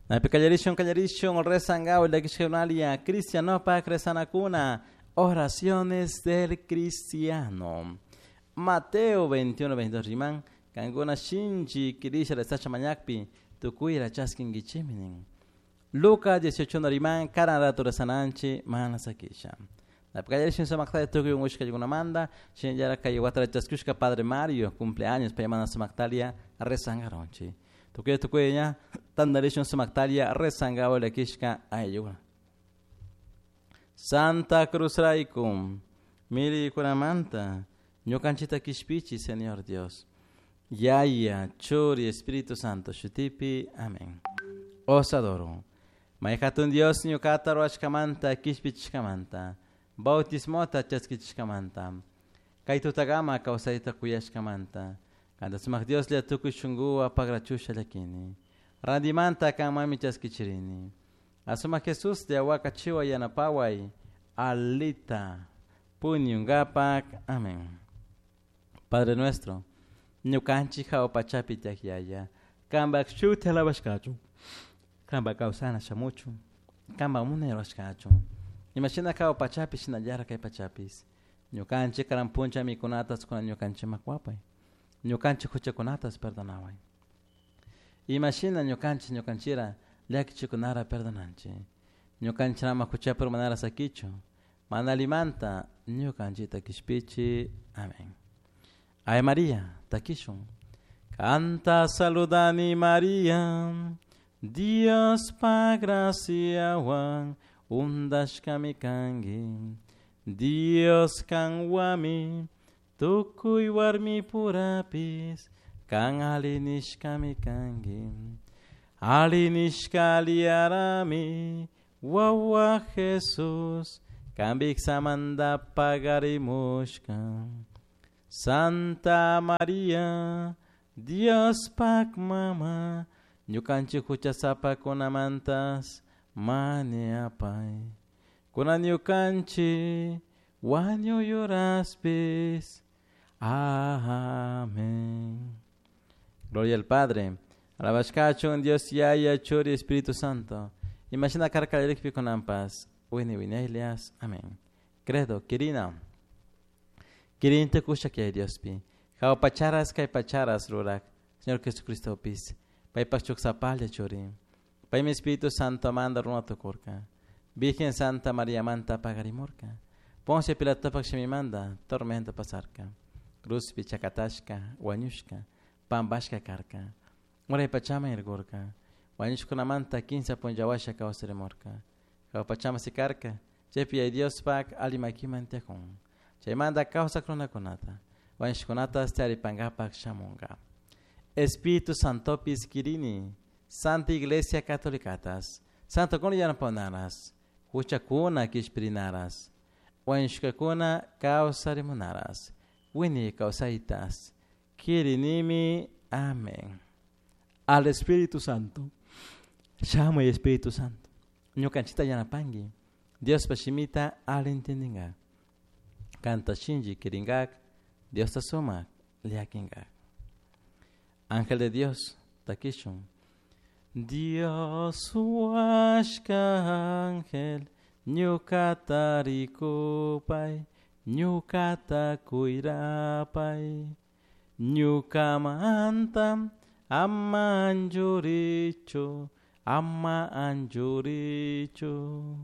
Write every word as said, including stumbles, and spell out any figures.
Napi kallarishun kallarishun rezangaw llakishkakunalia cristianopak rezanakuna oraciones del cristiano. Mateo veintiuno veintidós riman kankuna shinchi kirisha rezacha mañakpi tukuyra chaskinkichiminin. Lucas dieciocho riman karan rato rezananchi mana sakisha. Napi kallarishun sumaktalia tukuy ungushkakunamanta shinallara kay watara chaskushka Padre Mario cumpleaños paymana sumaktalia rezangaronchi. Tukuy tukuy ña tandarishun sumaktalia rezangaw llakishka ayllukuna. Santa Cruz raykum milikunamanta ñukanchita kishpichi Señor Dios. Yaya, Churi, Espíritu Santo, shutipi. Amén. Os adoro. Mayhatun Dios ñukata ruwashkamanta kishpichishkamanta bautismota chaskichishkamanta kay tutagama kawsayta kuyashkamanta kanta sumak Dios lla tukuy shunkuwa pagrachusha llakini randimanta kanmanmi chaskichirini asumak Jesús lla wakachiwa yanapaway alita puñungapak. Amén. Padre nuestro, ñukanchik hawa pachapi tiyak yaya, kanpak shuti alabashkachun, kanpak kawsana shamuchun, kanpak munay rurashkachun, imashina hawa pachapi shinallara kay pachapis, ñukanchik karan puncha mikunatas kunan ñukanchikman wapay, ñukanchik huchakunatas perdonaway, imashina ñukanchik ñukanchira llakichikunara perdonanchik, ñukanchirama huchapi urmanara sakichun, mana allimanta ñukanchikta kishpichi. Amén. Ave María, takishun. Canta saludani María, Dios pa graciawan undashkami kanki, Dios kanwami tukuy warmi purapis, kan alinishkami kanki, alinishka aliarami, wawa Jesús, kanpik samanta pagarimushka. Santa María, Dios pak mama, ñukanchik huchasapakunamantas mañapay. Kunan ñukanchik wañuyuraspis. Amén. Gloria al Padre, alabashkachun Dios Yaya, Churi, Espíritu Santo. Imagina karkallarikpi kunanpas, wini wiñaylias. Amén. Credo, kirina. Kirinta kushak yay Diospi. Hawa pacharas kay pacharas rurak. Señor Jesucristo pis. Paypak chuksapalla churi. Paymi Espíritu Santo manda runa tukurka. Virgen Santa María manta pagarimurka. Poncio Pilatopak shimimanta tormento pasarka. Cruzpi chakatashka, wañushka, pampashka karka. Uray pachaman irkurka. Wañushkunamanta kinsa punllawasha kawsarimurka. Hawa pachaman sikarka. Chaypi yay Diospak allimakiman tiyakun. Chaymanta kawsak runakunata, wañushkunatas tiyaripankapak shamunka. Espíritu Santopis kirini, Santa Iglesia Catolicatas, Santokuna yanapanaras, huchakuna kishpirinaras, wañushkakuna kawsarimunaras, wini kawsaytas, kirinimi. Amén. Al Espíritu Santo, shamuy Espíritu Santo, ñukanchita yanapanki, Diospa shimita alli entendinka. Kanta shinchi kiringak, Dios ta sumak llakinkak. Ángel de Dios, takishun. Dios huashka ángel, ñukata rikupay, ñukata kuyrapay, ñukamanta ama anchurichu, ama anchurichu.